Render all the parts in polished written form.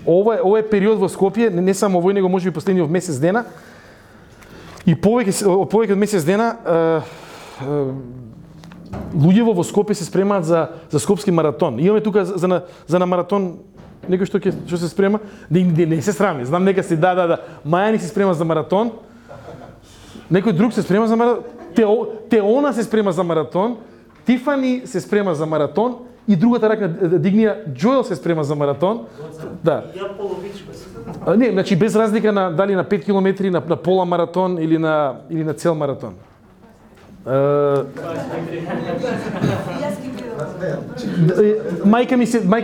Ова е период во Скопје, не само овој, него можеби последниот месец дена. И повеќе од месец дена луѓето во Скопје се спремаат за скопски маратон. Имаме тука за на маратон некој што се спрема, да не се срами. Знам нека си да. Мајани се спрема за маратон. Некој друг се спрема за маратон. Теона се спрема за маратон. Тифани се спрема за маратон и другата рака дигнија Джоел се спрема за маратон. Да. Ја половичко. Не, значи без разлика на дали на 5 километри, на пола маратон или на цел маратон. Мајка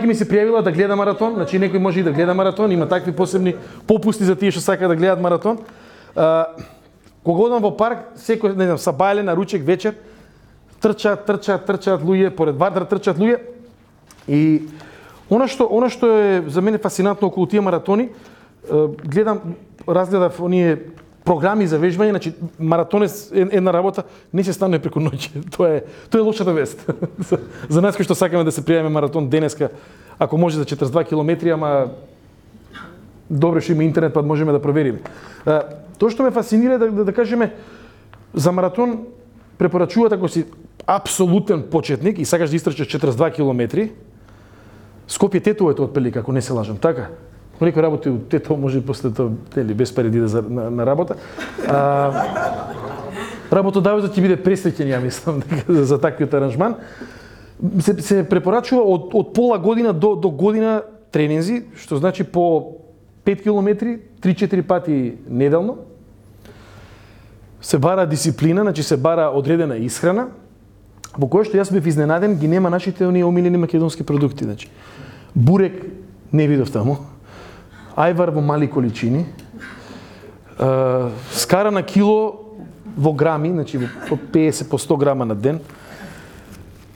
ми се пријавила да гледа маратон, значи некој може и да гледа маратон, има такви посебни попусти за тие што сакаат да гледат маратон. Кога одам во парк, секој, не знам, сабајле на ручек вечер, трчаат луѓе, поред ватра трчаат луѓе. И она што е за мене фасцинантно околу тие маратони, разгледав оние програми за вежбање, значи маратон е една работа, не се станува преку ноќе. Тоа е лошата вест. За нас кои што сакаме да се пријавиме маратон денеска, ако може за 42 километри, ама добро што има интернет, па можеме да провериме. Тоа што ме фасцинира да кажеме за маратон препорачуваат ако си апсолутен почетник и сакаш да истрчаш 42 километри, Скопје Тетово е тоа отприлика, ако не се лажам, така? Некој работи у Тетово, може после тоа, без пари да иде на работа. Работодавецот ќе биде пресреќен, ја мислам, за таквиот аранжман. Се препорачува од пола година до година тренинзи, што значи по 5 километри, 3-4 пати неделно. Се бара дисциплина, значи се бара одредена исхрана, во која што јас бев изненаден, ги нема нашите оние омилени македонски продукти, значи. Бурек не видов таму. Ајвар во мали количини. Скара на кило во грами, значи по 50 по 100 грама на ден.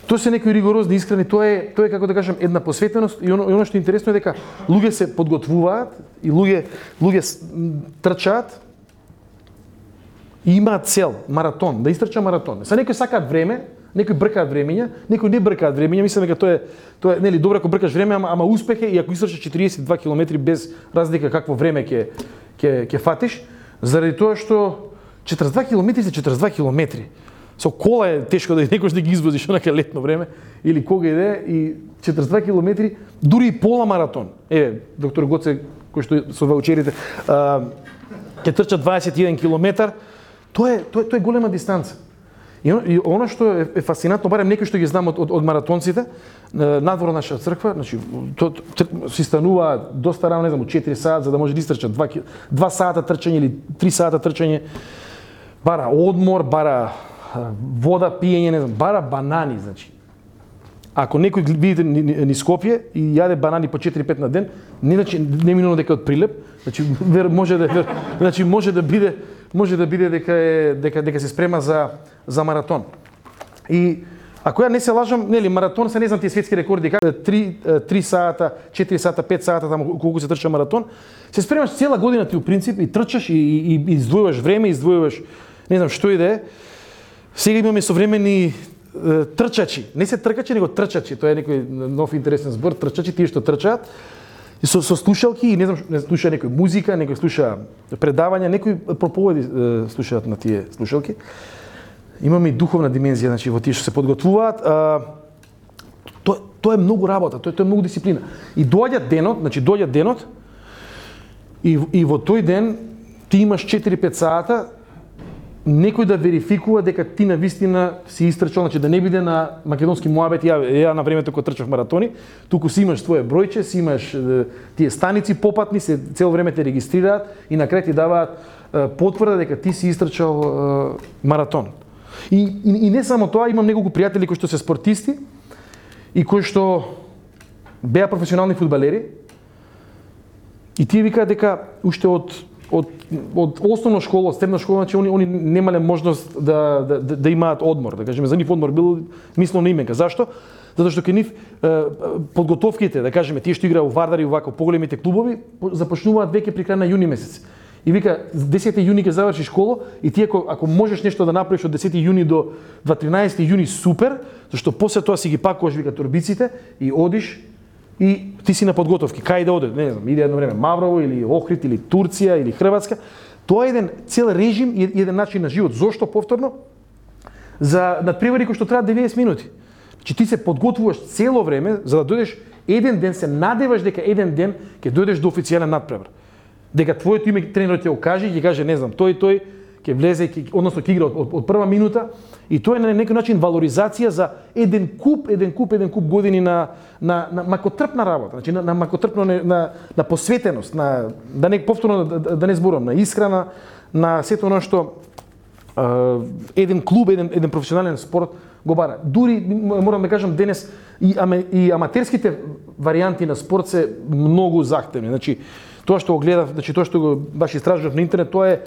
Тоа се некои ригорозни исхрани, тоа е како да кажам една посветеност и оно што е интересно е дека луѓе се подготвуваат и луѓе трчаат и имаат цел, маратон, да истрча маратон. Са некои сакаат време, некои бркаат времења, некои не бркаат времења, мислам дека тоа е нели добро ако бркаш време, ама успех е и ако истрчаш 42 километри без разлика какво време ќе фатиш, заради тоа што 42 километри се 42 километри. Со кола е тешко да некош да ги извозиш онака летно време или кога иде и 42 километри, дури и пола маратон. Доктор Гоце, кој што со ваучерите, ќе трча 21 километар, тоа е голема дистанца. И она што е фасцинантно, барем некои што ги знам од маратонците, надвор од нашата црква, значи си станува доста рано, не знам, 4 саат за да може да истрчат 2 сата трчање или 3 сата трчање. Бара одмор, бара вода, пиење, не знам, бара банани, значи. Ако некој видите ни Скопје и јаде банани по 4-5 на ден, не минува дека од прилеп, значи може да биде дека се спрема за маратон. И ако ја не се лажам, нели маратон се не знам тие светски рекорди како 3 сата, 4 сата, 5 сата таму колку се трча маратон, се спремаш цела година ти у принцип и трчаш и издвојуваш време, издвојуваш не знам што и да е. Сега имаме современи трчачи, не се тркачи, него трчачи, тоа е некој нов интересен збор, трчачи тие што трчаат и со слушалки и не знам, слуша некој музика, некој слуша предавања, некој проповеди слушаат на тие слушалки. Имаме и духовна димензија, значи во тие што се подготвуваат. Тоа е многу работа, тоа е многу дисциплина. И доаѓа денот и во тој ден ти имаш 4-5 сата некој да верификува дека ти навистина си истрчал, значи да не биде на македонски муабет, ја на времето кога трчав маратони, туку си имаш твое бројче, си имаш тие станици попатни, се цело време те регистрираат и на крај ти даваат потврда дека ти си истрчал маратон. И не само тоа, имам неколку пријатели кои што се спортисти и кои што беа професионални фудбалери и тие викаат дека уште од основна школа, од средна школа, значи они немале можност да имаат одмор, да кажеме за нив одмор бил мислено именка. Зашто? Затоа што кај нив подготовките, да кажеме, тие што играа у Вардар и вака поголемите клубови, започнуваат веќе при крај на јуни месец. И вика 10 јуни ќе заврши школа и ти ако можеш нешто да направиш од 10 јуни до 13 јуни супер, зашто после тоа си ги пакуваш вика торбиците и одиш и ти си на подготовки, кај да оде, не знам, иде едно време Маврово или Охрид или Турција или Хрватска. Тоа е еден цел режим и еден начин на живот. Зошто повторно? За надпревари кои што траат 90 минути. Значи ти се подготвуваш цело време за да дојдеш еден ден, се надеваш дека еден ден ќе дојдеш до официјален надпревар. Дека твоето име тренерот ќе го каже и ќе каже, не знам, тој ќе влезе, односно ќе игра од прва минута, и тоа е на некој начин валоризација за еден куп години на макотрпна работа, значи на макотрпно на посветеност, да не повторно да не зборам, на исхрана, на сето оно што еден клуб, еден професионален спорт го бара. Дури морам да кажам денес и аматерските варијанти на спорт се многу захтевни. Значи тоа што го гледав, значи тоа што го баш истражував на интернет, тоа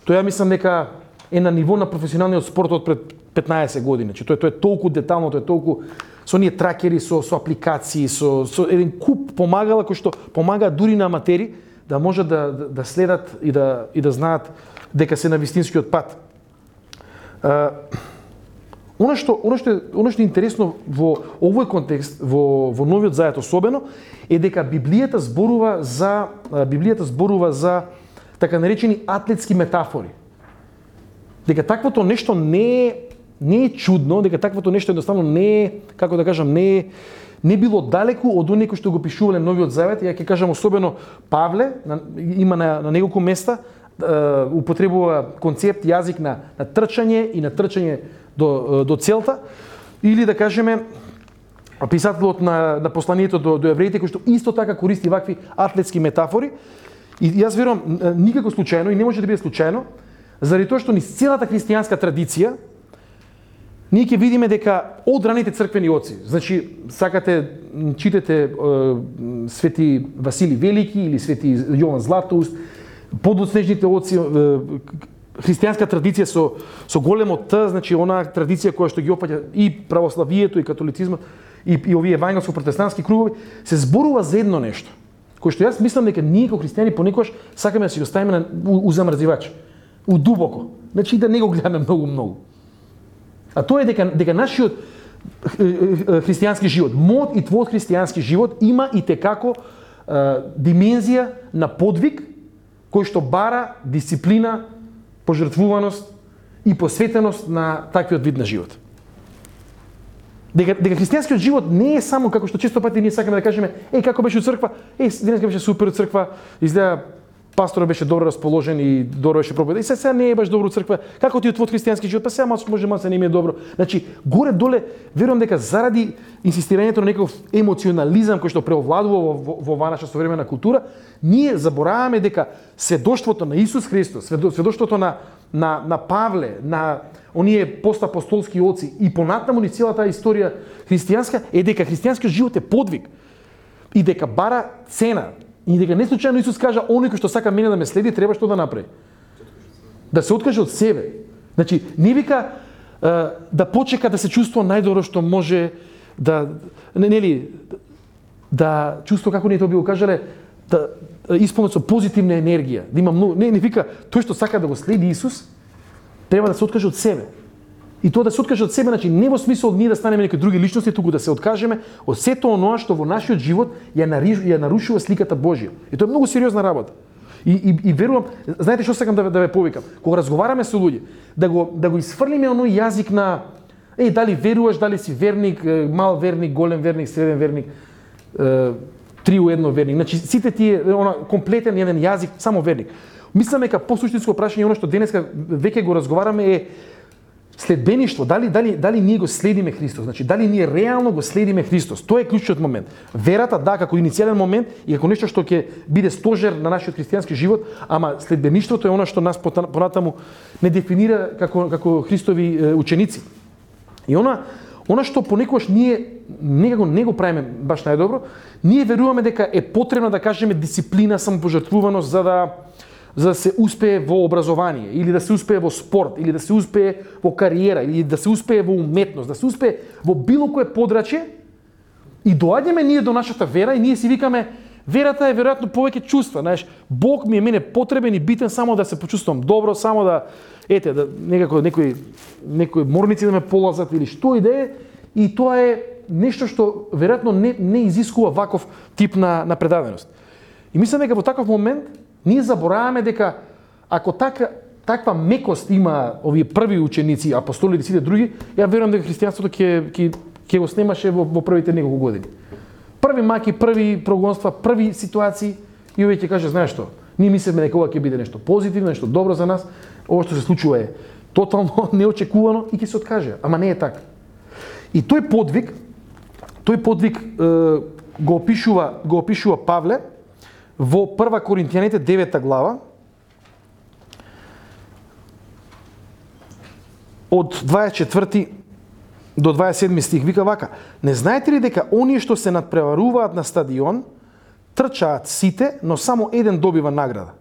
ја мислам дека е на ниво на професионалниот спорт од пред 15 години. Значи тоа е толку детално, тоа е толку со оние тракери, со апликации, со еден куп помагала кои што помагаат дури на аматери да можат да следат и да знаат дека се на вистинскиот пат. Оно што е интересно во овој контекст, во Новиот Завет особено, е дека Библијата зборува за така наречени атлетски метафори. Дека таквото нешто не е чудно, дека таквото нешто едноставно не е, како да кажам, не било далеку од оние кои што го пишувале Новиот Завет. Ја ќе кажам особено Павле, има на неколку места употребува концепт, јазик на трчање и на трчање до целта, или да кажеме писателот на посланието до евреите, кој што исто така користи вакви атлетски метафори. И јас верувам никако случајно, и не може да биде случајно, заради тоа што низ целата христијанска традиција ние ќе видиме дека од раните црквени оци, значи сакате читате свети Васили Велики или свети Јован Златоуст, подоцнежните оци, христијанска традиција со големо Т, значи она традиција која што ги опаѓа и православието и католицизмот и овие евангелско-протестантски кругови, се зборува за едно нешто, кој што јас мислам дека ние како христијани понекогаш сакаме да си го ставиме у замрзивач, у дубоко, значи да не го гледаме многу. А тоа е дека нашиот христијански живот, мојот и твојот христијански живот има и текако димензија на подвиг кој што бара дисциплина, пожртвуваност и посветеност на таквиот вид на живот. Дека христијанскиот живот не е само како што често пати ние сакаме да кажеме, како беше у црква, денеска беше супер у црква, изгледа пасторот беше добро расположен и добро беше проповеда. И сега не е баш добро у црква. Како ти е твојот христијански живот? Па сега може не ми е добро. Значи, горе доле верувам дека заради инсистирањето на некој емоционализам кој што преовладува во наша современа култура, ние забораваме дека сведоштвото на Исус Христос, сведоштвото на Павле, на оние постапостолски оци и понатаму ни целата историја христијанска е дека христијанскиот живот е подвиг и дека бара цена. И дека не случајно Исус кажа, оној кој што сака мене да ме следи, треба што да направи? Да се откаже од себе. Значи, не вика да почека да се чувствува најдобро што може, да чувствува, како ние тоа би го кажале, да исполнет со позитивна енергија, да има многу, не вика тој што сака да го следи Исус, треба да се откаже од себе. И тоа да се откаже од себе, значи не во смисол ние да станеме некои други личности, туку да се откажеме од сето оноа што во нашиот живот ја нарушува сликата Божја. И тоа е многу сериозна работа. И верувам, знаете што сакам да ве повикам? Кога разговараме со луѓе, да го исфрлиме оној јазик на дали веруваш, дали си верник, мал верник, голем верник, среден верник, 3 у 1 верник. Значи сите тие комплетен еден јазик, само верник. Мислам дека посуштинско прашање оно што денеска веќе го разговараме е следбеништво, дали ние го следиме Христос, значи дали ние реално го следиме Христос. Тоа е клучниот момент. Верата, како иницијален момент и како нешто што ќе биде стожер на нашиот христијански живот, ама следбеништвото е она што нас понатаму не дефинира како Христови ученици. И она што понекогаш ние некако не го правиме баш најдобро, ние веруваме дека е потребно да кажеме дисциплина, самопожртвуваност за да се успее во образование, или да се успее во спорт, или да се успее во кариера, или да се успее во уметност, да се успее во било кое подрачје, и доаѓаме ние до нашата вера и ние си викаме, верата е веројатно повеќе чувства, знаеш, Бог ми е мене потребен и битен само да се почувствувам добро, само да некако некои морници да ме полазат или што и да е, и тоа е нешто што веројатно не изискува ваков тип на предаденост. И мислам дека во таков момент ние забораваме дека ако таква мекост има овие први ученици, апостолите и сите други, ја верувам дека христијанството ќе го снемаше во првите неколку години. Први маки, први прогонства, први ситуации и овој ќе каже, знаеш што, ние мислиме дека ова ќе биде нешто позитивно, нешто добро за нас, ова што се случува е тотално неочекувано и ќе се откаже, ама не е така. И тој подвиг го опишува Павле во 1 Коринтијаните 9 глава од 24 до 27 стих вика вака: не знаете ли дека оние што се надпреваруваат на стадион трчаат сите, но само еден добива награда?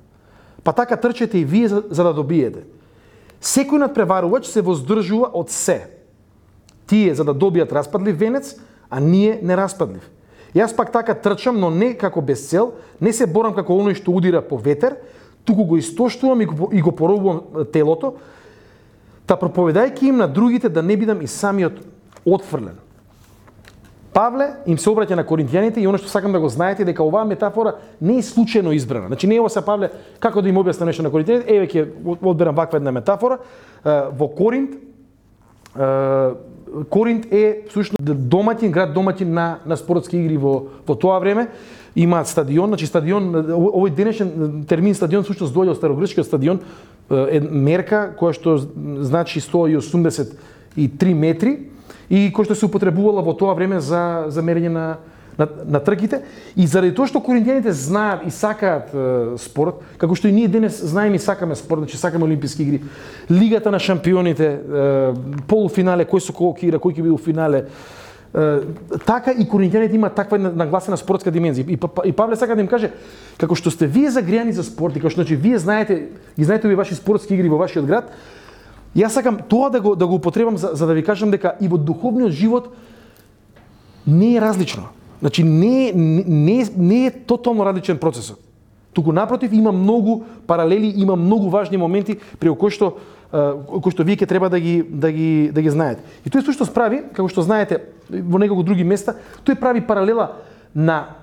Па така трчете и вие за да добиете. Секој надпреварувач се воздржува од се. Тие за да добијат распадлив венец, а ние нераспадлив. Јас пак така трчам, но не како без цел, не се борам како оној што удира по ветер, туку го истоштувам и го поробувам телото, та проповедајќи им на другите да не бидам и самиот отфрлен. Павле им се обраќа на коринтијаните и оно што сакам да го знаете дека оваа метафора не е случајно избрана. Значи не е ова се Павле како да им објасни нешто на коринтијаните, еве ќе одберам ваква една метафора. Во Коринт е всушност град домаќин на спортски игри во тоа време. Имаат стадион, значи стадион, овој денешен термин стадион всушност доаѓа од старогрчкиот стадион, мерка која што значи 183 метри и кој што се употребувала во тоа време за мерење на трките. И заради тоа што коринтијаните знаат и сакаат спорт, како што и ние денес знаеме и сакаме спорт, значи сакаме олимписки игри, лигата на шампионите, полуфинале, кој со кого ќе игра, кој ќе биде во финале, така и коринтијаните имаат таква нагласена спортска димензија. И Павле сака да им каже, како што сте вие загријани за спорт и како што значи вие знаете овие ваши спортски игри во вашиот град, јас сакам тоа да го употребам за да ви кажам дека и во духовниот живот не е различно. Значи не е тотално различен процесот. Туку напротив има многу паралели, има многу важни моменти при кои што вие ќе треба да ги знаете. И тој што прави, како што знаете во неколку други места, тој прави паралела на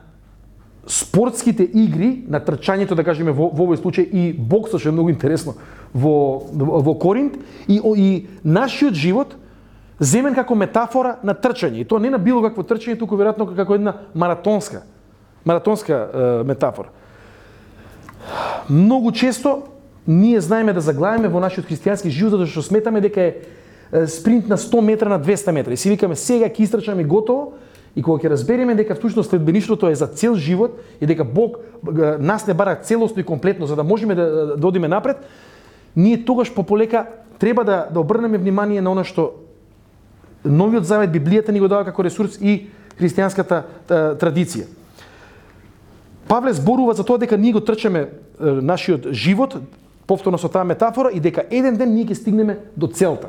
спортските игри, на трчањето, да кажеме во овој случај, и боксот, што е многу интересно во Коринт, и нашиот живот земен како метафора на трчање. И тоа не на било какво трчање, туку веројатно како една маратонска метафора. Многу често ние знаеме да заглавиме во нашиот христијански живот затоа што сметаме дека е спринт на 100 метра, на 200 метра. И си викаме сега ќе истрчаме готово, и кога ќе разбереме дека всушност следбеништвото е за цел живот и дека Бог нас не бара целосно и комплетно за да можеме да одиме напред, ние тогаш пополека треба да обрнеме внимание на она што Новиот Завет, Библијата ни го дава како ресурс и христијанската традиција. Павле зборува за тоа дека ние го трчаме нашиот живот, повторно со таа метафора, и дека еден ден ние ќе стигнеме до целта.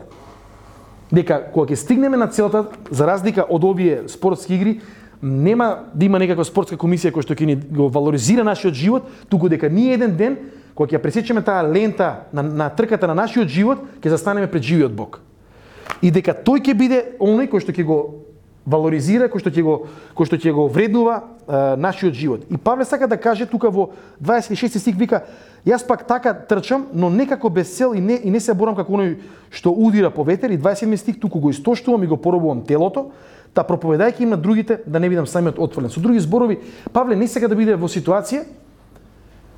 Дека кога ќе стигнеме на целта, за разлика од овие спортски игри, нема да има некаква спортска комисија која што ќе ни го валоризира нашиот живот, туку дека ние еден ден, кога ќе пресечеме таа лента на трката на нашиот живот, ќе застанеме пред живиот Бог. И дека тој ќе биде оној кој што ќе го валоризира, кој што ќе го вреднува нашиот живот. И Павле сака да каже тука во 26 стих вика: јас пак така трчам, но не како без цел и не се борам како оној што удира по ветер. И 27 стих: туку го истоштувам и го поробувам телото, та проповедајќи им на другите да не бидам самиот отфрлен. Со други зборови, Павле не сака да биде во ситуација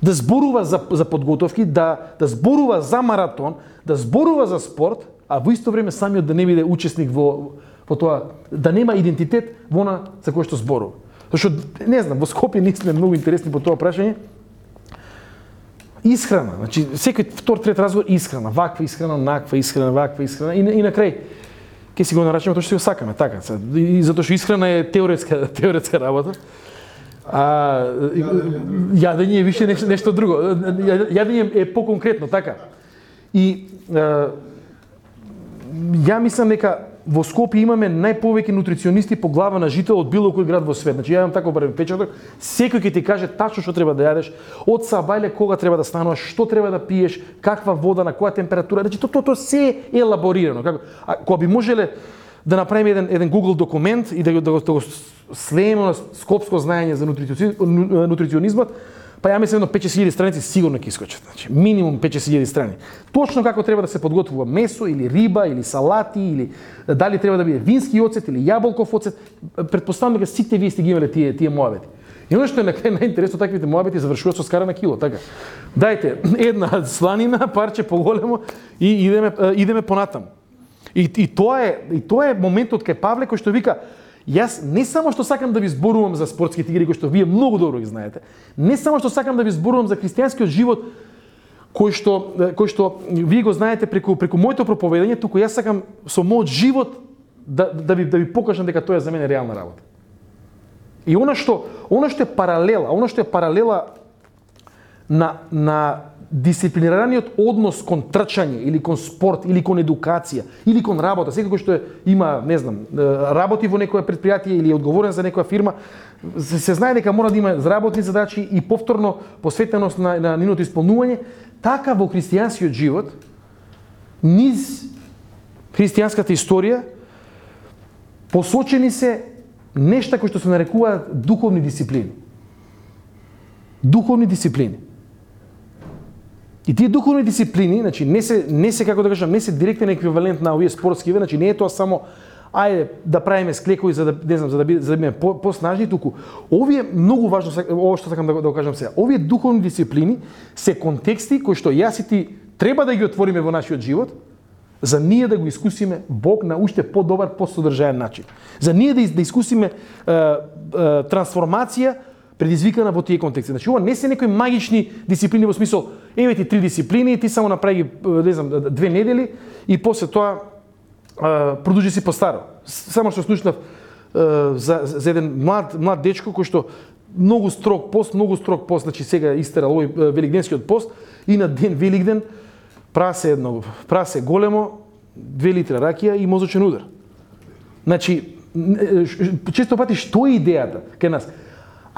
да зборува за подготовки, да зборува за маратон, да зборува за спорт, а во исто време самиот да не биде учесник во тоа, да нема идентитет во она за кој што зборува. Зашто, не знам, во Скопје ние сме многу интересни по тоа прашање. Исхрана, значи секој втор, трет разговор исхрана, ваква исхрана, наква исхрана, ваква исхрана и на крај ќе си го нарачаме тоа што си го сакаме, така. И затоа што исхрана е теоретска работа. Јадење е више нешто друго. Јадење е поконкретно, така. И ја мислам дека во Скопје имаме најповеќе нутриционисти по глава на жител од било кој град во свет. Значи ја имам таков барем впечаток, секој ќе ти каже тачно што треба да јадеш, од сабајле кога треба да стануваш, што треба да пиеш, каква вода, на која температура. Значи тоа се е елаборирано. Кога би можеле да направиме еден Google документ и да го слееме на скопско знаење за нутриционизмот, па ја мислам 5-6 страници сигурно ќе искочат. Значи, минимум 5-6 страни. Точно како треба да се подготвува месо или риба или салати или дали треба да биде вински оцет или јаболков оцет, претпоставам дека сите вие сте ги имале тие моабети. И оно што е најинтересно, таквите моабети завршуваат со скара на кило, така. Дајте една сланина, парче поголемо и идеме понатаму. И тоа е моментот кај Павле кој што вика: јас не само што сакам да ви зборувам за спортските игри, кои што вие многу добро ги знаете, не само што сакам да ви зборувам за христијанскиот живот кој што вие го знаете преку моето проповедање, туку јас сакам со мојот живот да ви покажам дека тоа е за мене реална работа. И она што е паралела на дисциплинираниот однос кон трчање или кон спорт или кон едукација или кон работа, секој што има, не знам, работи во некоја претпријатие или е одговорен за некоја фирма, се знае дека мора да има работни задачи и повторно посветеност на нивното исполнување. Така во христијанскиот живот, низ христијанската историја посочени се нешта кои што се нарекуваат духовни дисциплини. Духовни дисциплини. И тие духовни дисциплини, значи не се како да кажам, не се директен еквивалент на овие спортскиве, значи не е тоа само ајде да правиме склекови за да не знам за да бидеме поснажни, туку овие многу важно ова што сакам да го кажам сега. Овие духовни дисциплини се контексти кои што јас и ти треба да ги отвориме во нашиот живот, за ние да го искусиме Бог на уште подобар, посодржаен начин. За ние да искусиме трансформација предизвикана во тие контексти. Значи, ова не се некои магични дисциплини во смисол, еве ти 3 дисциплини, ти само направи ги, не знам, 2 недели и после тоа продолжи си постаро. Само што слушнав за еден млад дечко кој што многу строг пост, значи сега истерал овој великденскиот пост и на ден Великден прасе големо, 2 литри ракија и мозочен удар. Значи, често пати што е идејата кај нас?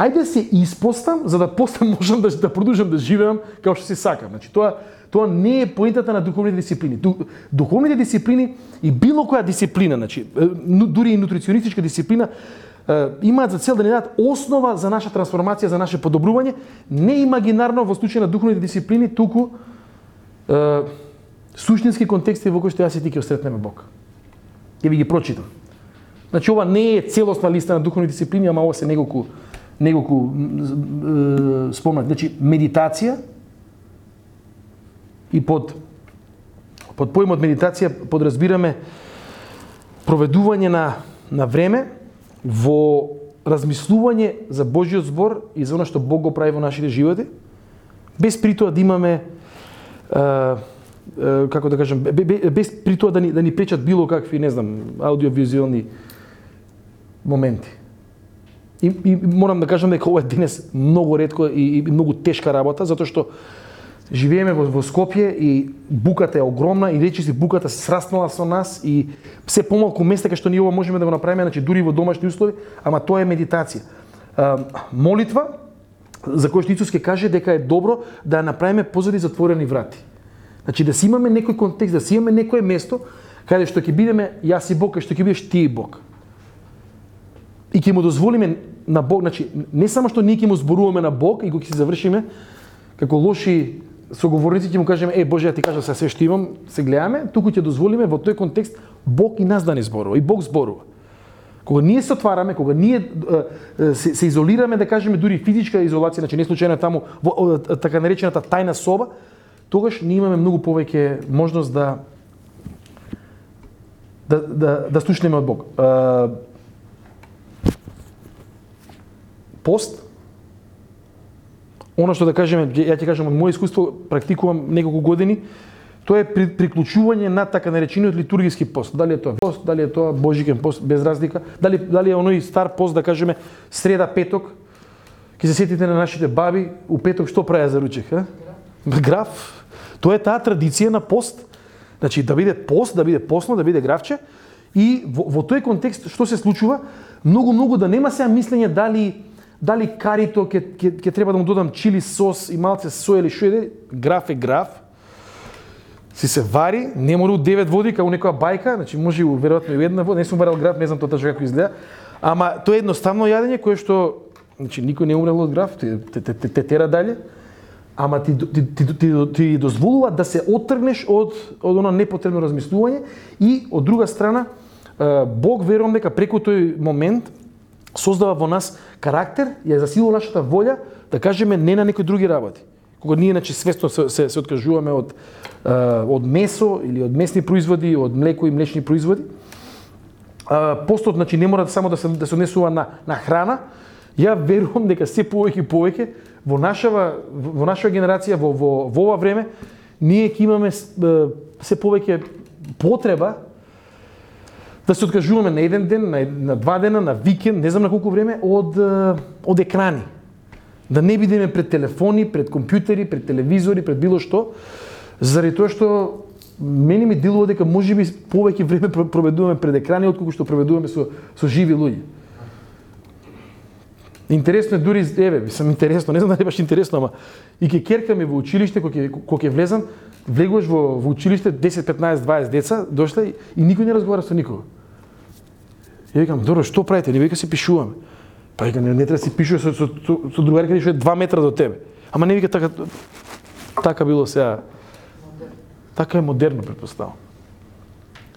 Ајде се испостам за да после можам да продолжам да живеам како што си сакам. Значи тоа не е поентата на духовните дисциплини. Духовните дисциплини и било која дисциплина, значи дури и нутриционистичка дисциплина, имаат за цел да ни дадат основа за наша трансформација, за наше подобрување, не имагинарно во случај на духовните дисциплини, туку суштински контексти во кои што јас и ти ќе осретнеме Бог. Ќе ви ги прочитам. Значи ова не е целосна листа на духовни дисциплини, ама ова се неколку спомнат. Значи медитација и под поимот медитација подразбираме проведување на време во размислување за Божјиот збор и за она што Бог го прави во нашите животи, без при тоа да имаме како да кажам, без при тоа да ни пречат било какви, не знам, аудиовизуелни моменти. И морам да кажам дека ова е денес многу ретко и многу тешка работа, затоа што живееме во Скопје и буката е огромна и речиси буката се сраснала со нас и се помалку места кај што ние ова можеме да го направиме, значи дури во домашни услови, ама тоа е медитација. Молитва, за кој што Исус ќе каже дека е добро да ја направиме позади затворени врати. Значи да си имаме некој контекст, да си имаме некое место каде што ќе бидеме јас и Бог, каде што ќе бидеш ти и Бог. И ќе му дозволиме на Бог, значи не само што ние ќе му зборуваме на Бог и го ќе си завршиме како лоши соговорници, ќе му кажеме Боже, ја ти кажав се што имам, се гледаме, туку ќе дозволиме во тој контекст Бог и нас да ни зборува, и Бог зборува. Кога ние се отвараме, кога ние се изолираме, да кажеме дури физичка изолација, значи не случајно таму во така наречената тајна соба, тогаш ние имаме многу повеќе можност да слушнеме од Бог. Пост, она што да кажеме, ја ќе кажам од моје искуство, практикувам неколку години, тоа е приклучување на така наречениот литургиски пост. Дали е тоа пост, дали е тоа божикен пост, без разлика, дали е оној стар пост, да кажеме, среда, петок, ќе се сетите на нашите баби, у петок што праја за ручек, граф. Тоа е таа традиција на пост, значи да биде пост, да биде постно, да биде графче, и во тој контекст што се случува, многу да нема сега мислење дали карито ќе треба да му додам чили сос и малце соја или што е, граф е граф. си се вари, не мора у 9 води како некоја бајка, значи може и веројатно и една вода, не сум варил граф, не знам тоа точно како изгледа, ама тоа е едноставно јадење кое што значи никој не умрел од граф, те тера дале, ама ти дозволува да се оттргнеш од оно непотребно размислување и од друга страна Бог верувам дека преку тој момент создава во нас карактер, ја засилува нашата волја да кажеме не на некои други работи. Кога ние значи свесно се откажуваме од месо или од месни производи, од млеко и млечни производи, постот значи не мора само да се однесува на храна. Ја верувам дека се повеќе во нашава генерација во ова време ние ќе имаме се повеќе потреба да се откажуваме на еден ден, на 2 дена, на викенд, не знам на колку време од екрани. Да не бидеме пред телефони, пред компјутери, пред телевизори, пред било што, заради тоа што мене ми делува дека можеби повеќе време проведуваме пред екрани отколку што проведуваме со живи луѓе. Интересно е дури, интересно, не знам дали баш интересно, ама и ке керкаме во училиште, кога ќе влезам, влегуваш во училиште 10, 15, 20 деца, дошле и никој не разговара со никого. Ја викам, добро, што правите? Не вика се пишуваме. Па вика, не треба да си пишува со другарка што е 2 метра до тебе. Ама не вика така било сега. Така е модерно, претпоставам.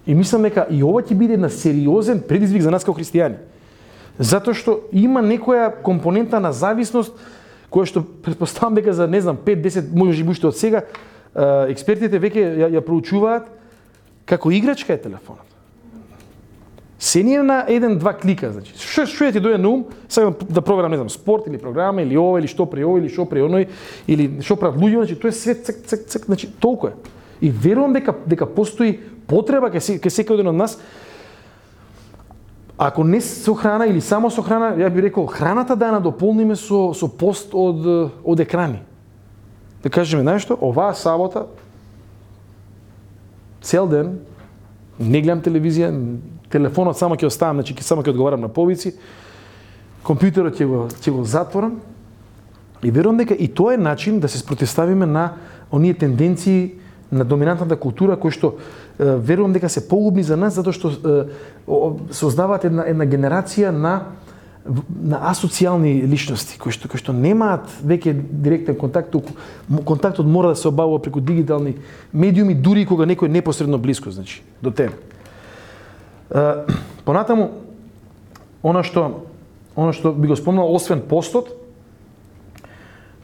И мислам дека и ова ќе биде една сериозен предизвик за нас како христијани. Затоа што има некоја компонента на зависност која што претпоставам дека за не знам 5-10 можеби уште од сега експертите веќе ја проучуваат како играчка е телефонот. Се ни е на 1-2 клика, значи. Што ти дојде на ум, сакам да проверам, не знам, спорт или програма или ова или што при ова или што при оној или што прават луѓе, значи тоа е свет цак, значи толку е. И верувам дека постои потреба кај секој еден од нас. Ако не со храна или само со храна, ја би рекол храната да ја надополниме со пост од екрани. Да кажеме, знаеш што, оваа сабота цел ден не гледам телевизија, телефонот само ќе оставам, значи само ќе одговарам на повици, компјутерот ќе го затворам и верувам дека и тоа е начин да се спротивставиме на оние тенденции на доминантната култура кои што верувам дека се погубни за нас затоа што создаваат една генерација на асоцијални личности кои што немаат веќе директен контакт, контактот мора да се обавува преку дигитални медиуми дури кога некој е непосредно блиско, значи до тебе. Понатаму она што би го спомнал освен постот,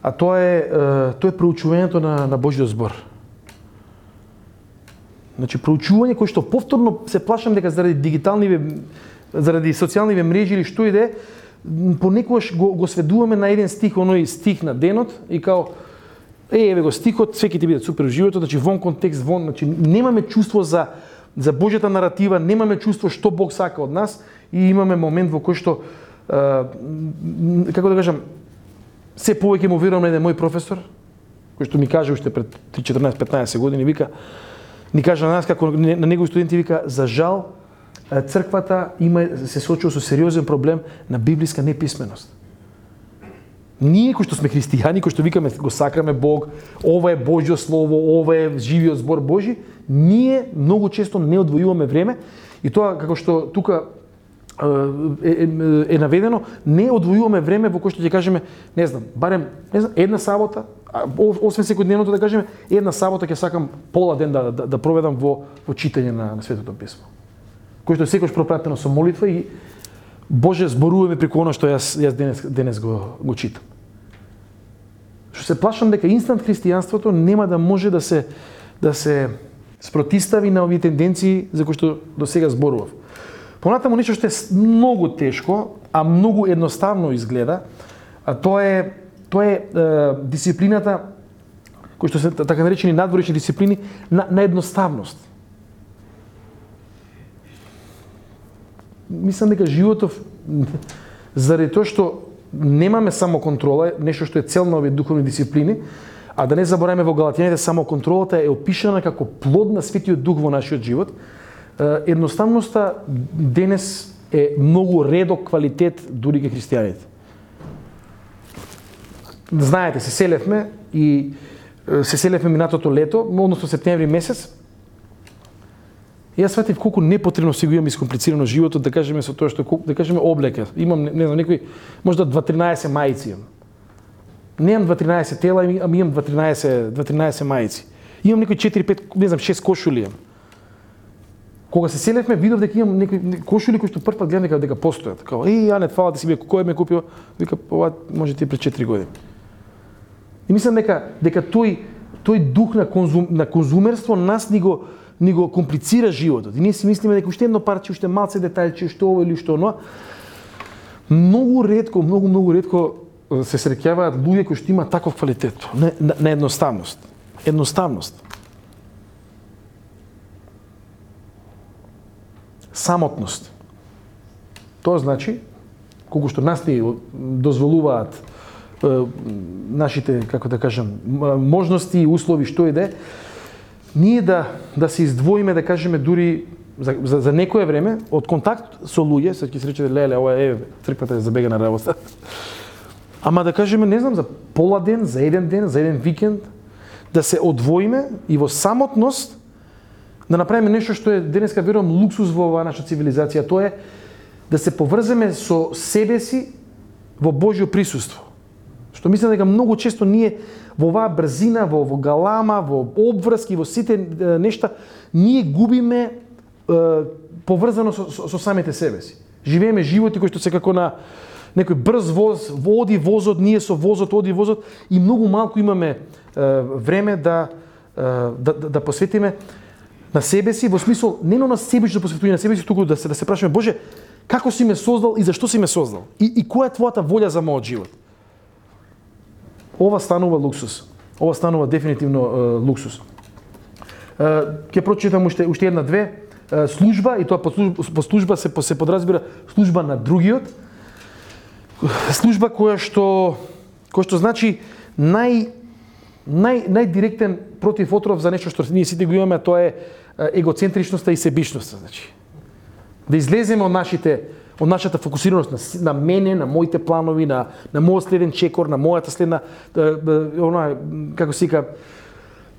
а тоа е проучувањето на Божјиот збор. Значи проучување кое што повторно се плашам дека заради социјалниве мрежи или што и да е, понекогаш го сведуваме на еден стих, оној стих на денот и као еве го стихот, све ќе ти биде супер во животот, значи вон контекст, значи немаме чувство за Божјата наратива, немаме чувство што Бог сака од нас и имаме момент во кој што како да кажам, се повеќе му верувам на еден мој професор, кој што ми каже уште пред 14-15 години, ни кажа на нас како на негови студенти, вика, за жал црквата се соочува со сериозен проблем на библиска неписменост. Ние кои што сме христијани, кои што викаме го сакаме Бог, ова е Божјо слово, ова е живиот збор Божи, ние многу често не одвојуваме време и тоа како што тука е наведено, не одвојуваме време во кое што ќе кажеме, не знам, барем една сабота, освен секојдневното да кажеме, една сабота ќе сакам пола ден да проведам во читање на Светото писмо. Кој што секојаш пропратено со молитва и Боже зборуваме преку она што јас денес го читам. Што се плашам дека инстант христијанството нема да може да се спротистави на овие тенденции за кои што до сега зборував. Понатаму нешто што е многу тешко, а многу едноставно изгледа, а тоа е дисциплината кои што се така наречени надворешни дисциплини на едноставност. Мислам дека животов заради тоа што немаме само контрола, нешто што е цел на овие духовни дисциплини, а да не забораваме во Галатјаните само контролата е опишана како плод на Светиот Дух во нашиот живот. Едноставноста денес е многу редок квалитет дури кај христијаните. Знаете, се селевме и се селевме минатото лето, односно септември месец. И јас сватив колку непотребно си го имам искомплицирано животот, да кажеме со тоа што да кажеме облека. Имам не знам некои можда 2-13 мајци имам. Немам 2-13 тела, ами имам 2-13 мајци. Имам некои 4-5, не знам, 6 кошули имам. Кога се селевме, видов дека имам некои кошули кои што прв пат гледам дека постојат. Као, Јане, фала ти си кој ме купил? Вика, ова може ти пред 4 години. И мислам дека тој дух на конзумерство нас ни го комплицира животот. И ние си мислиме дека уште едно парче, уште малце детајче, што ово или што оно. Многу ретко се среќаваат луѓе кои што имаат таков квалитет на едноставност. Едноставност. Самотност. Тоа значи, колку што нас ни дозволуваат нашите, како да кажам, можности и услови што и да е, ние да се издвоиме, да кажеме, дури за некое време, од контакт со луѓе, се ќе се рече, леле, ова црквата е забега на работа. Ама да кажеме, не знам, за пола ден, за еден ден, за еден викенд, да се одвоиме и во самотност да направиме нешто што е денеска, верувам, луксус во оваа наша цивилизација. Тоа е да се поврземе со себе си во Божјо присуство. Што мислам дека многу често ние во оваа брзина, во галама, во обврски, во сите нешта, ние губиме поврзано со самите себе си. Живееме животи кои што се како на некој брз воз, оди возот, ние со возот, оди возот и многу малку имаме време да посветиме на себе си, во смисол не на себично посветување на себе си, туку да се прашаме, Боже, како си ме создал и зашто си ме создал? И која е твојата волја за мојот живот? Ова станува луксус. Ова станува дефинитивно луксус. Ќе прочитам уште една-две. Служба, и тоа по служба се подразбира служба на другиот. Служба која што значи најдиректен противотров за нешто што ние сите го имаме, тоа е егоцентричноста и себичноста, значи. Да излеземе од нашата фокусираност на мене, на моите планови, на мојот следен чекор, на мојата следна како се вика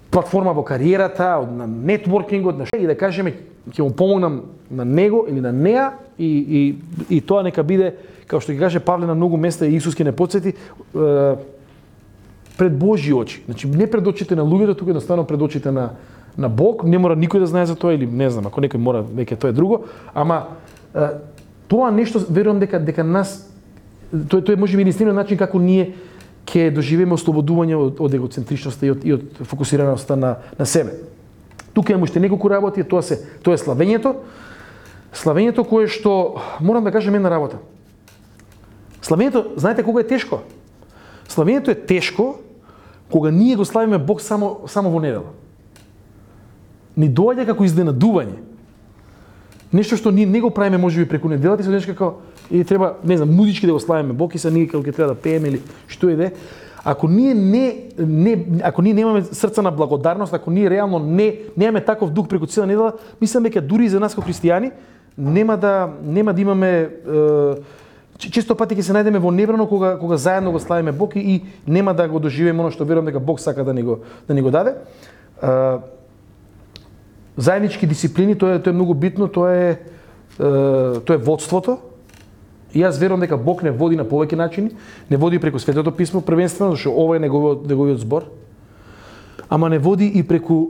платформа во кариерата, на нетворкингот, и да кажеме ќе му помогнам на него или на неа и тоа нека биде, како што ќе каже Павле на многу места и Исус ќе не потсети, пред Божји очи. Значи не пред очите на луѓето, туку едноставно пред очите на Бог. Не мора никој да знае за тоа или не знам, ако некој мора, веќе тоа е друго, ама тоа нешто верувам дека нас тој може би единствениот начин како ние ќе доживееме ослободување од егоцентричноста и од фокусираноста на себе. Тука имам уште неколку работи, тоа е славењето. Славењето кое што морам да кажам една работа. Славењето, знаете кога е тешко? Славењето е тешко кога ние го славиме Бог само во недела. Ни доаѓа како изненадување. Нешто што ние не го правиме можеби преку неделата, и се нешто како и треба, не знам, музички да го славиме Бог и се ние кога ќе треба да пееме или што и да е. Ако ние немаме срца на благодарност, ако ние реално немаме таков дух преку цела недела, мислам дека дури и за нас како христијани нема да имаме често пати ќе се најдеме во небрано кога заедно го славиме Бог и нема да го доживееме оно што верувам дека Бог сака да ни го даде. Заеднички дисциплини, тоа е многу битно, тоа е водството. И јас верувам дека Бог не води на повеќе начини, не води преку Светото писмо првенствено, зашто ова е неговиот збор. Ама не води и преку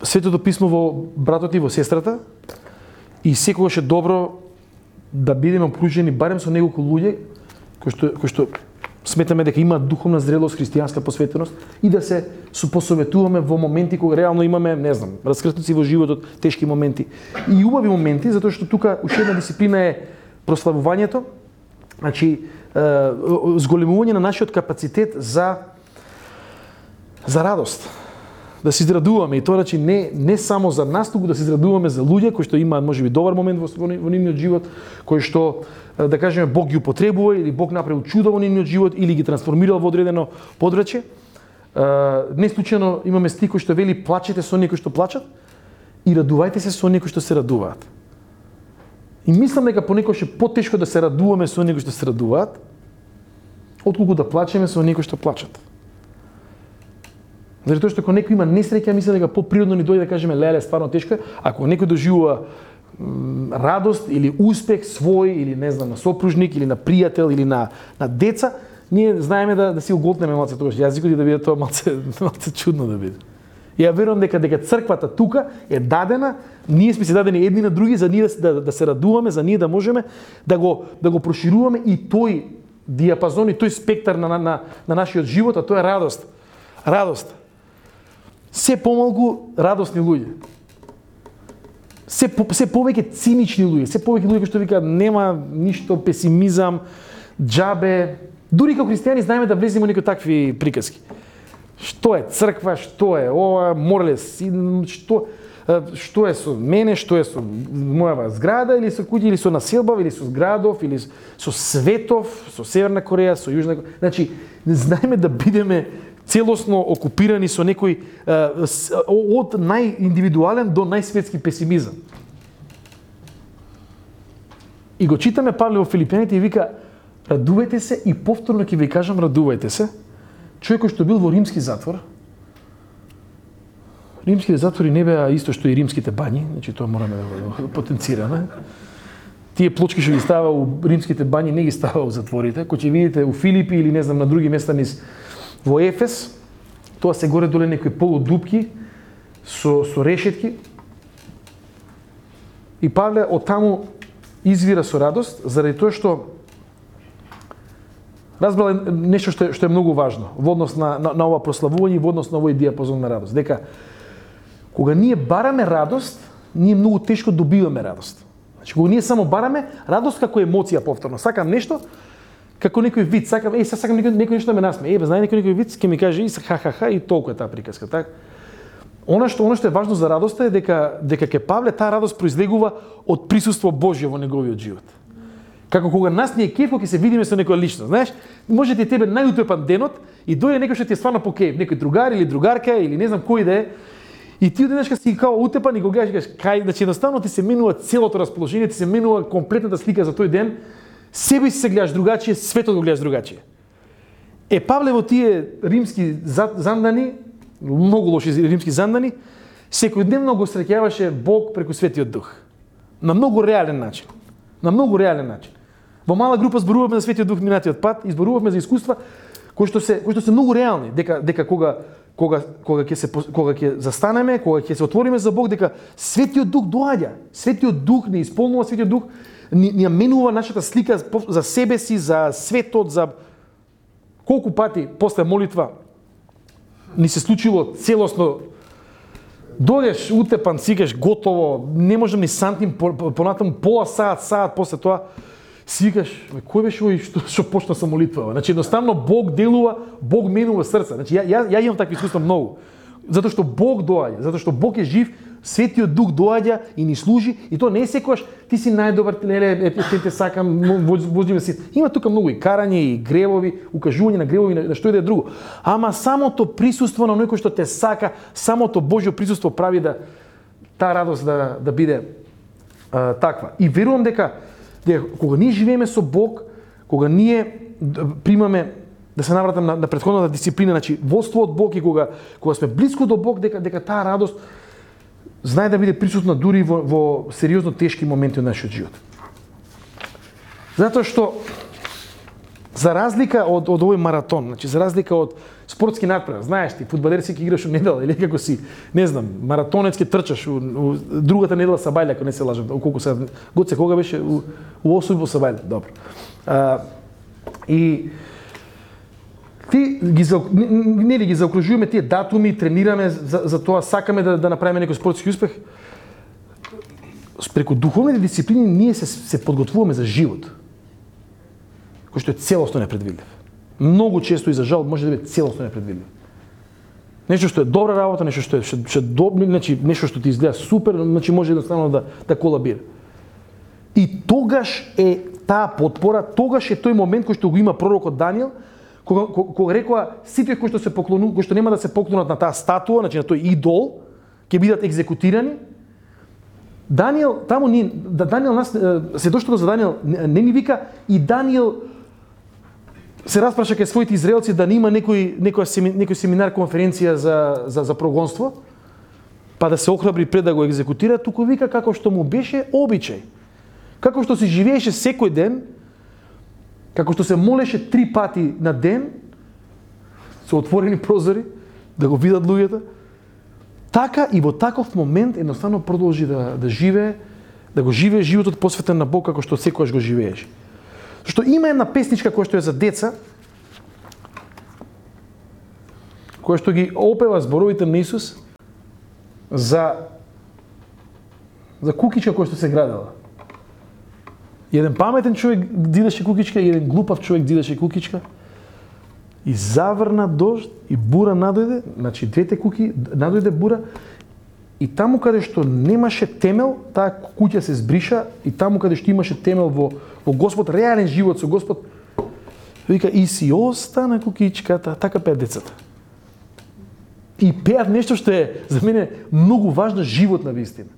Светото писмо во братот и во сестрата. И секогаш е добро да бидеме окружени барем со неколку луѓе кои што сметаме дека имаат духовна зрелост, христијанска посветеност и да се посоветуваме во моменти кога реално имаме, не знам, раскрстници во животот, тешки моменти и убави моменти, затоа што тука уште една дисциплина е прославувањето, значи зголемување на нашиот капацитет за радост. Да се израдуваме и тоа значи не само за нас, туку да се израдуваме за луѓе кои што имаат можеби добар момент во нивниот живот, кои што да кажеме Бог ги употребува или Бог направил чудо во нивниот живот или ги трансформирал во одредено подрачје. Не случајно имаме стих кој што вели плачете со оние кои што плачат и радувајте се со оние кои што се радуваат. И мислам дека понекогаш е потешко да се радуваме со оние кои што се радуваат, отколку да плачеме со оние кои што плачат. Заради тоа што кога некој има несреќа, мисли дека поприродно ни дојде да кажеме леле, стварно тешко е, ако некој доживува радост или успех свој или не знам на сопружник или на пријател или на деца, ние знаеме да си уготнеме малце тогаш јазикот и да биде тоа малце чудно да биде. Ја верувам дека црквата тука е дадена, ние сме се дадени едни на други за ние да се радуваме, за ние да можеме да го прошируваме и тој диапазон и тој спектар на нашиот живот, а тоа е радост. Радост. Се помалку радосни луѓе. Се повеќе цинични луѓе, се повеќе луѓе кои што викаат нема ништо, песимизам, џабе. Дури како христијани знаеме да влеземе во некои такви приказки. Што е црква, што е ова, морлес, што е со мене, што е со мојава зграда или со куќа, или со населба, или со градов, или со светов, со Северна Кореја, со Јужна Кореја. Значи, знаеме да бидеме целосно окупирани со некој од најиндивидуален до најсветски песимизам. И го читаме Павле во Филипјаните и вика радувајте се и повторно ќе ви кажам радувајте се. Човек кој што бил во римски затвор. Римските затвори не беа исто што и римските бањи, значи тоа мораме да потенцираме. Тие плочки што ги става у римските бањи не ги става у затворите. Кој ќе видите у Филипи или не знам на други места низ во Ефес, тоа се горе доле некои полудупки со решетки. И Павле од таму извира со радост заради тоа што разбрал нешто што е многу важно во однос на ова прославување и во однос на овој диапазон на радост. Дека кога ние бараме радост, ние многу тешко добиваме радост. Значи кога ние само бараме радост како емоција повторно, сакам нешто како некој вид, сакам некој нешто да ме насмее. Знае некој вид, ќе ми каже и ха и толку е таа приказка, така? Она што е важно за радоста е дека ке Павле таа радост произлегува од присуство Божје во неговиот живот. Како кога нас ни е кеф кога ќе се видиме со некоја личност, знаеш, може ти тебе најутепан денот и дојде некој што ти е стварно по кеф, некој другар или другарка или не знам кој да е, и ти одеднаш си као утепан и го гледаш и кажеш кај, значи едноставно ти се менува целото расположение, ти се менува комплетната слика за тој ден, себе си се гледаш другачие, светот го гледаш другачие. Павле во тие римски зандани, многу лоши римски зандани, секојдневно го среќаваше Бог преку Светиот Дух. На многу реален начин. На многу реален начин. Во мала група зборувавме за Светиот Дух минатиот пат и зборувавме за искуства кои што се многу реални, дека кога ќе застанеме, кога ќе се отвориме за Бог, дека Светиот Дух доаѓа. Светиот Дух не исполнува, Светиот Дух ни менува нашата слика за себе си, за светот, за колку пати после молитва ни се случило целосно. Дојдеш утепан, сикаш готово, не можам ни сантим понатаму пола саат после тоа си викаш, кој беше овој што почна со молитва? Значи едноставно Бог делува, Бог менува срца. Значи ја имам такви искуства многу. Затоа што Бог доаѓа, затоа што Бог е жив, Светиот Дух доаѓа и ни служи, и тоа не е секогаш ти си најдобар, те сакам, возиме си. Има тука многу и карање и гревови, укажување на гревови, на што и да е друго. Ама самото присуство на некој што те сака, самото Божјо присуство прави да таа радост да биде таква. И верувам дека кога ние живееме со Бог, кога ние примаме, да се навратам на претходната дисциплина, значи водство од Бог и кога сме блиску до Бог, дека таа радост знае да биде присутна дури во сериозно тешки моменти од нашиот живот. Затоа што за разлика од овој маратон, значи за разлика од спортски надпревар, знаеш ти, фудбалер си ќе играш у недела или како си, не знам, маратонец ќе трчаш у другата недела Сабајле, ако не се лажам, колку се Гоце кога беше у 8 во Сабајле, добро. И ти ги заокружуваме тие датуми, тренираме за тоа, сакаме да направиме некој спортски успех. Преку духовните дисциплини ние се подготвуваме за живот, кој што е целосно непредвидлив. Многу често и за жал може да биде целосно непредвидливо. Нешто што е добра работа, нешто што е добро, значи нешто што ти изгледа супер, значи може едноставно да колабира. И тогаш е таа потпора, тогаш е тој момент кој што го има пророкот Даниел, кога рекоа сите кои што нема да се поклонат на таа статуа, значи на тој идол, ќе бидат екзекутирани. Даниел нас се дошло за Даниел, не ни вика и Даниел се распраша кај своите израелци да нема некој семинар, конференција за прогонство, па да се охрабри пред да го екзекутира, туку вика како што му беше обичај. Како што се живееше секој ден, како што се молеше 3 пати на ден, со отворени прозори, да го видат луѓето, така и во таков момент едноставно продолжи да живее, да го живее животот посветен на Бог како што секогаш го живееше. Што има една песничка која што е за деца, која што ги опева зборовите на Исус за кукичка која што се градела. Еден паметен човек дидеше кукичка и еден глупав човек дидеше кукичка. И заврна дожд и бура надојде, значи двете куки надојде бура и таму каде што немаше темел, таа куќа се збриша и таму каде што имаше темел во Господ, реален живот со Господ, вика и си остана кукичката, така пеат децата. И пеат нешто што е за мене многу важна животна вистина.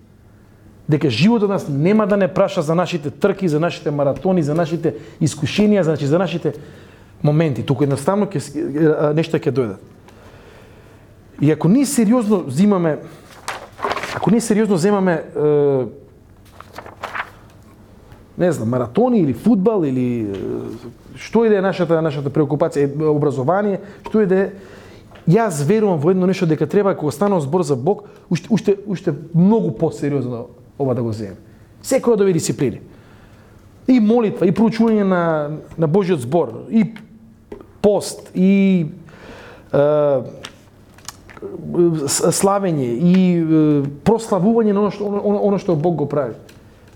Дека животот нас нема да не праша за нашите трки, за нашите маратони, за нашите искушенија, за нашите моменти, туку едноставно нешто ќе дојдат. И ако ние сериозно земаме не знам, маратони или фудбал или што и да е нашата преокупација, образование, што и да е, јас верувам во едно нешто дека треба кога станува збор за Бог, уште многу посериозно ова да го земеме. Секоја од овие дисциплини. И молитва, и проучување на Божиот збор, и пост, и славење, и прославување на оно што Бог го прави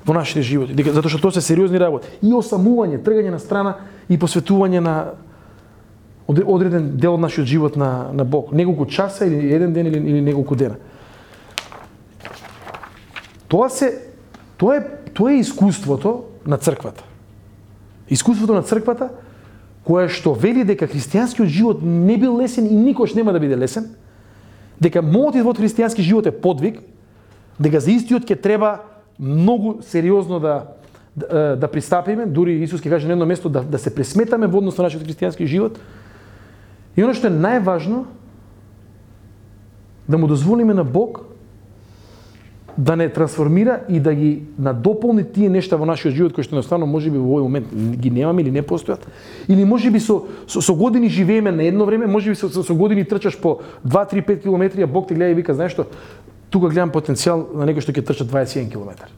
во нашите животи, затоа што тоа се сериозни работи. И осамување, тргање на страна и посветување на одреден дел од нашиот живот на Бог. Неколку часа или еден ден или неколку дена. Тоа е искуството на црквата. Искуството на црквата која што вели дека христијанскиот живот не бил лесен и никош нема да биде лесен, дека мотивот од христијански живот е подвиг, дека за истиот ќе треба многу сериозно да пристапиме, дури Исус ќе каже на едно место да се пресметаме во однос на нашиот христијански живот. И оно што е најважно, да му дозволиме на Бог да не трансформира и да ги надополни тие нешта во нашиот живот кои што едноставно можеби во овој момент ги немаме или не постојат, или можеби со години живееме на едно време, можеби со години трчаш по 2-3-5 километри, а Бог те гледа и вика, знаеш што, тука гледам потенцијал на некој што ќе трча 21 километар.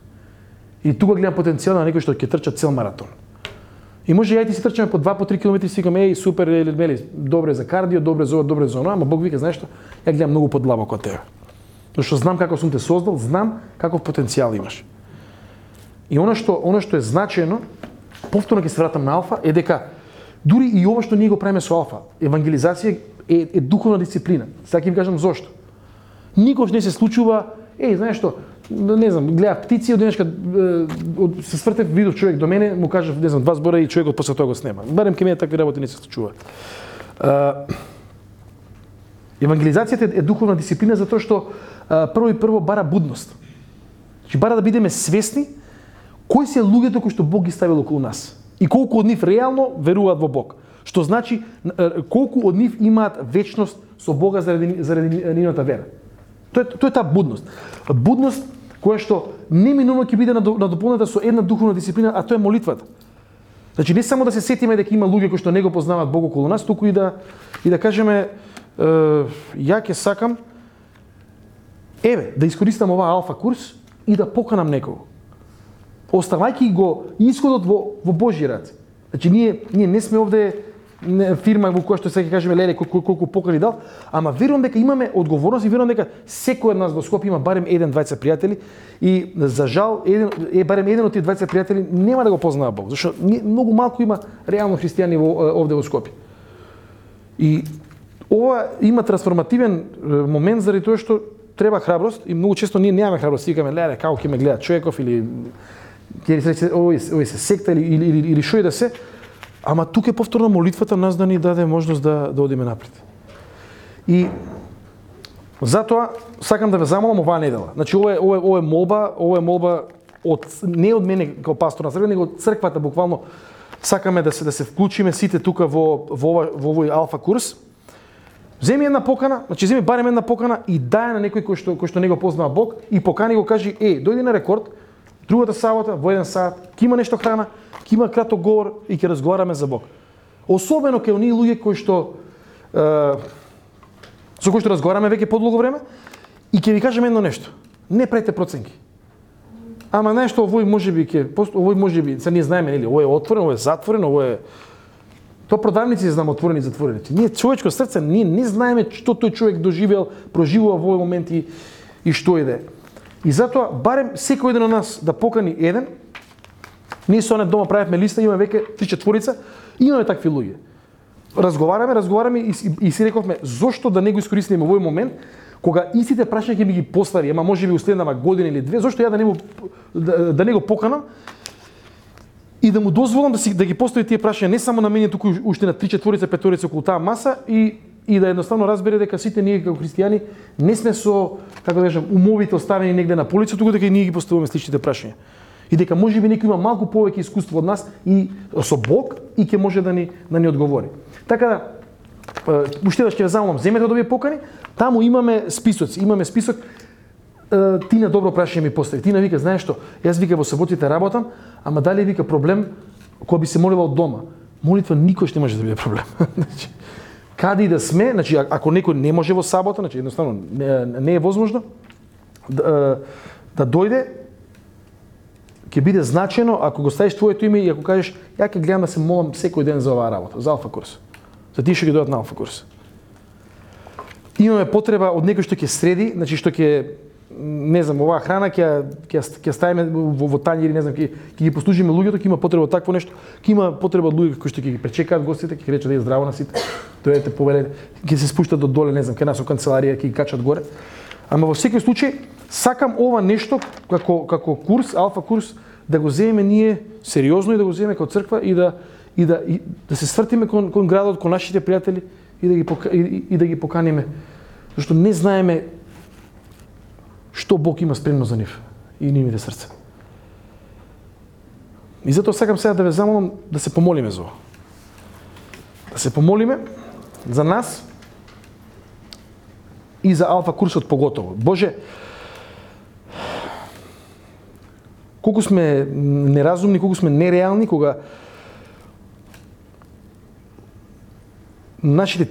Или тука гледам потенцијал на некој што ќе трча цел маратон. И може ја ти се трчаме по 2-3 километри и си викам, супер, добро е за кардио, добро е за ова, добро е за оно, ама Бог вика, знаеш што, ја гледам многу подлабоко од тебе. Зашто знам како сум те создал, знам каков потенцијал имаш. И оно што е значајно, повторно ќе се вратам на алфа, е дека дури и ова што ние го правиме со алфа, евангелизација е духовна дисциплина. Сега ќе ви кажам зошто. Никош не се случува, знаеш што, не знам, гледав птици, од денешка се свртев, видов човек до мене, му кажав, не знам, 2 збора и човекот после тоа го снема. Барем ке мене такви работи не се случуваат. Евангелизацијата е духовна дисциплина затоа што прво бара будност. Значи бара да бидеме свесни кои се луѓето кои што Бог ги ставил околу нас и колку од нив реално веруваат во Бог. Што значи колку од нив имаат вечност со Бога заради нивната вера. Тоа е таа будност. Будност која што неминуно ќе биде надополнета со една духовна дисциплина, а тоа е молитвата. Значи не само да се сетиме дека има луѓе кои што не го познаваат Бог околу нас, туку и да кажеме ја ќе сакам да искористам оваа алфа курс и да поканам некого. Оставајќи го исходот во Божји раце. Значи ние не сме овде фирма во која што се ќе кажеме леле колку покани дал, ама верувам дека имаме одговорност и верувам дека секој од нас во Скопје има барем 1-2 пријатели и за жал барем еден од тие 20 пријатели нема да го познава Бог, зашто многу малку има реално христијани овде во Скопје. И ова има трансформативен момент заради тоа што треба храброст и многу често ние немаме храброст, викаме леле како ќе ме гледа човеков или ќе се овој се секта или што и да се. Ама тука е повторно молитвата нас да ни даде можност да одиме напред. И затоа сакам да ве замолам оваа недела. Значи ова е молба не од мене како пастор на црква, него од црквата буквално сакаме да се вклучиме сите тука во овој алфа курс. Земи една покана, значи земи барем една покана и дај на некој кој што не го познава Бог и покани го, кажи: дојди на рекорд другата сабота во 1 сат, ќе има нешто храна, ќе има краток говор и ќе разговараме за Бог. Особено кај оние луѓе кои што со кои што разговараме веќе подолго време, и ќе ви кажам едно нешто. Не правите проценки. Ама нешто овој можеби, се ние знаеме, нели, ово е отворено, ово е затворено, ово е тоа продавници знам отворени и затворени. Ние човечко срце, ние не знаеме што тој човек доживеал, проживува во овој момент и што иде. И затоа барем секој еден од нас да покани еден. Ние со не дома правевме листа, имаме веќе 3-4, имаме такви луѓе. Разговараме и си рековме зошто да не го искористиме овој момент кога истите прашања ќе ми ги постави, ама можеби у следнава година или 2, зошто ја да не го поканам и да му дозволам да ги постави тие прашања не само на мене, туку уште на 3-4-5 околу таа маса и да едноставно разбере дека сите ние како христијани не сме со, како да кажам, умовите оставени негде на полица, туку дека и ние ги поставуваме сличните прашања. И дека можеби некој има малку повеќе искуство од нас и со Бог и ќе може да ни одговори. Така да, уште да ќе ве замолам, земете од овие покани, таму имаме списоци, ти на добро прашање ми постави. Ти вика, знаеш што, јас вика во саботите работам, ама дали вика проблем кој би се молила од дома? Молитва никош не може да биде проблем. Значи, каде и да сме, значи ако некој не може во сабота, значи едноставно не е возможно да дојде, ќе биде значено ако го ставиш твоето име и ако кажеш ја ќе гледам да се молам секој ден за оваа работа, за алфа курс. За тие што ќе дојдат на алфа курс. Имаме потреба од некој што ќе среди, значи што ќе, не знам, оваа храна ќе ставиме во тањери, не знам, ќе ги послужиме луѓето, ќе има потреба од такво нешто, ќе има потреба од луѓе кои што ќе ги пречекаат гостите, ќе речат да е здраво на сите, дојдете повелете, ќе се спуштат до доле, не знам, кај нас во канцеларија, ќе ги качат горе. Ама во секој случај сакам ова нешто како курс, алфа курс, да го земеме ние сериозно и да го земеме како црква и да се свртиме кон градот, кон нашите пријатели и да ги поканиме, зашто не знаеме што Бог има спремно за нив и нивните срца. И затоа сакам сега да ве замолам да се помолиме за ова. Да се помолиме за нас и за алфа курсот поготово. Боже, колку сме неразумни, колку сме нереални, кога нашите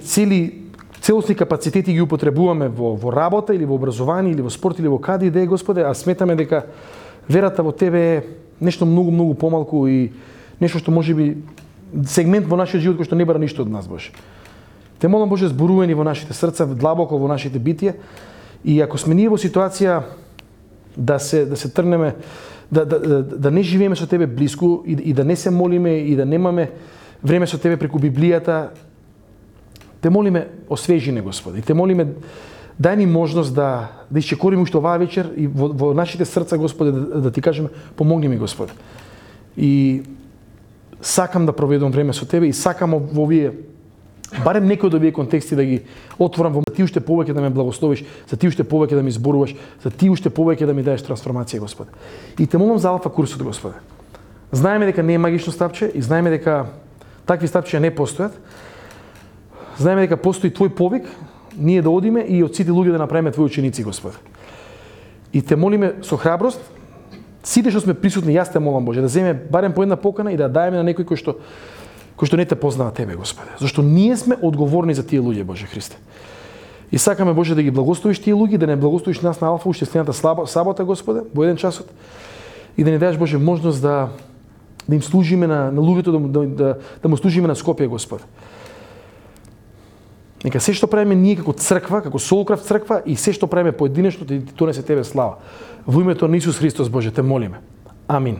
целосни капацитети ги употребуваме во работа или во образование или во спорт или во каде и да е, Господе, а сметаме дека верата во Тебе е нешто многу помалку и нешто што можеби сегмент во нашиот живот кој што не бара ништо од нас, Боже. Те молам, Боже, зборувани во нашите срца, длабоко во нашите битија, и ако сме ние во ситуација да се тргнеме, да не живееме со Тебе блиску и да не се молиме и да немаме време со Тебе преку Библијата, те молиме, освежи не, Господи. И те молиме, дај ни можност да исчекориме уште оваа вечер и во нашите срца, Господи, да Ти кажеме, помогни ми, Господи. И сакам да проведам време со Тебе и сакам во овие, барем некој од овие контексти да ги отворам во Ти уште повеќе да ме благословиш, за Ти уште повеќе да ми зборуваш, за Ти уште повеќе да ми даеш трансформација, Господи. И те молам за алфа курсот, Господи. Знаеме дека не е магично стапче и знаеме дека такви стапчења не постојат. Знаеме дека постои Твој повик, ние да одиме и од сите луѓе да направиме Твои ученици, Господи. И те молиме со храброст, сите што сме присутни, јас те молам, Боже, да земеме барем по една покана и да даеме на некој кој што не те познава Тебе, Господи. Зашто ние сме одговорни за тие луѓе, Боже Христе. И сакаме, Боже, да ги благословиш тие луѓе, да не благословиш нас на алфа уште следната сабота, Господи, во 1 часот, и да ни дадеш, Боже, можност да им служиме на луѓето, да му служиме на Скопје, Господи. Нека се што правиме ние како црква, како Солкрафт црква и се што правиме поединечно, да ти донесе Тебе слава. Во името на Исус Христос, Боже, те молиме. Амин.